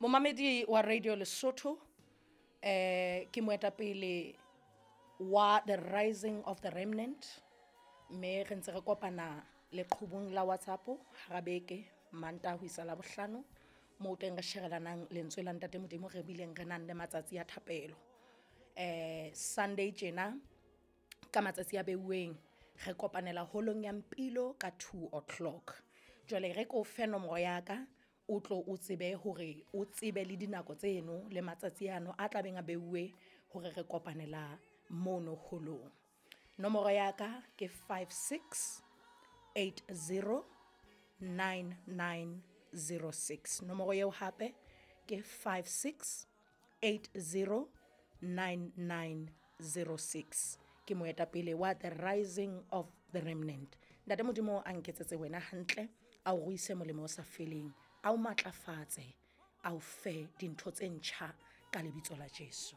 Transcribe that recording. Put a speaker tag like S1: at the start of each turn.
S1: Momamedi wa Radio Lesotho, ke moetapele wa The Rising of the Remnant, mme re ntse re kopana leqhubung la WhatsApp hara beke, Mantaha ho isa Labohlano, moo teng re sherelanang lentswe la Ntate Modimo, re bileng re nang le matsatsi a thapelo. Sunday tjena ka matsatsi a beuweng re kopanela holong ya Mpilo ka 2 o'clock. Jwale re ko fe nomoro ya ka, o tlo o tsebe hore o tsebe le dinako tseno le matsatsi ano a tlabeng a beuwe hore re kopanela mono holong. Nomoro ya ka ke 56 80 9906. Nomoro eo hape ke 56 80 9906. Ke moetapele wa The Rising of the Remnant. Ntate Modimo a nketsetse wena hantle, a o ruise molemo o sa feleng, a o matlafatse, a o fe dintho tse ntjha ka lebitso la Jesu.